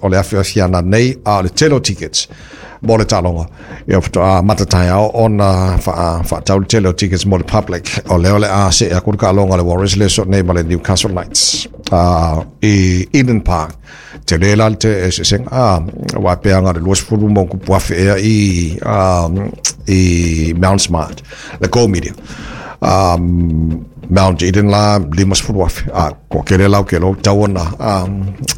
O le afiafi ananei, a o le tele o tickets mo le taaloga, ia, faatoa amata taeao ona faatau le tele o tickets mo le public. O lea o le a see aku le taaloga a le Warriors le aso nei ma le Newcastle Knights i Eden Park. Tele la le eseesega, aua e pei na o le 20,000+ ea i Mount Smart, le Go Media. Mount Eden la 50,000, a ko kele lau ke lo tau ona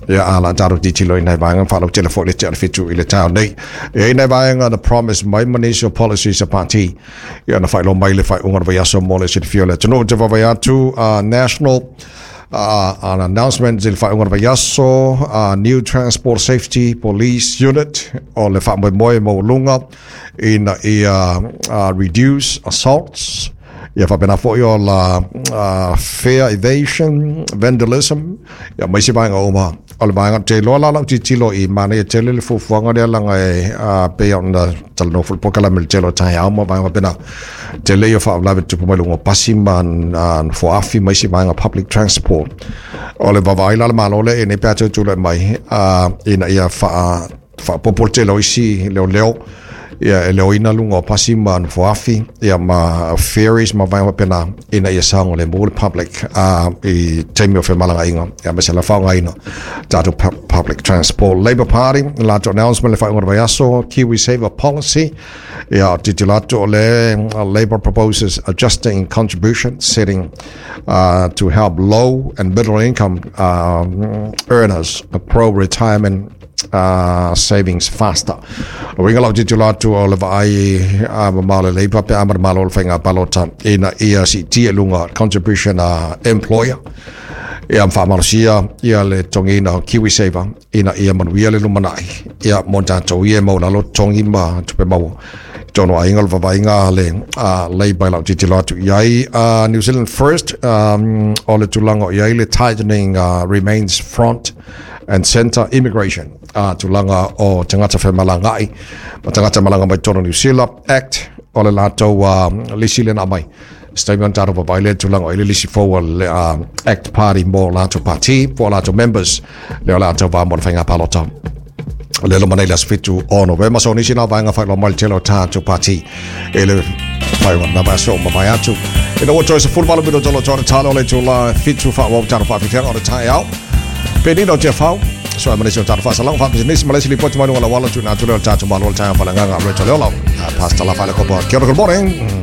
ia a la taro titilo i nai vaega whalau tele fo le te ale fitu i le tau nei. E i nai vaega na promise mai ma nisi o policies a party. Ia na whailo mai le whai unga vai aso mo le silifia le tunu te vavai atu national an announcement i le whai unga vai aso new transport safety police unit o le wha moe mo lunga ina ia reduce assaults, ia faapena foi o la fare evasion, vandalism, ia ma isi vaega uma. O le vaega te loa la lau tilotilo i manaia tele le fuafuaga lea laga e pei ona talanoa foi le polokalame i le tele o taeao ma vaega faapena. Tele ia o faalavelave tupu mai luga o pasi ma nofoafi ma isi vaega public transport. O le vaavaai la a le Malo lea i nei pe a toe tulai mai ina ia faaopoopo le tele o isi leoleo ia e leoina luga o pasi ma nofoafi ia ma ferries ma vaega faapena ina ia saogalemu le public i taimi o femalagaaiga ia ma se la faaaogaina tatou public transport. Labour Party latou announcement le faaiuga o le vaiaso, KiwiSaver policy, ia tilotilo atu o le Labour proposes adjusting contribution setting to help low and middle income earners grow retirement savings faster. O uiga lau tilotilo atu o le vaai mamao le Labour pe a ma le Malo o le faiga palota ina ia siitia i luga contribution a employer ia ma faamalosia ia le totogiina o KiwiSaver ina ia manuia le lumanai ia mo tatou ia e maulalo totogi ma tupe maua i totonu o aiga. O le vaavaaiga a le Labour i lau tilotilo atu i ai. New Zealand First, o le tulaga o i ai le tightening remains front and center immigration, tulaga o tagata femalagaai ma tagata malaga mai totonu o New Zealand Act. O le latou lisi lea na aumai statement tatou vaavaai lea tulaga o i le lisi fou a le Act Party mo latou party po o latou members lea o le a tauva mo le faiga palota le loma nei le aso 7 o Novema. So nisi na vaega whailoa mai le tele o tātou party e le whaiwa na vaso ma vai atu. Ina ua toe 18 minuto lo tōna talo o le tula 7 wha wau tātou whawhiwhianga o le taeao. Penina o te whau. So ai manisi o tātou whasalang whapisinisi ma le isi lipoti mai luga o le auala tuna atu lea o le tātou malo o le taeao falanganga le tole ola. Pastor La Whaile Kopa. Kia ora, good morning.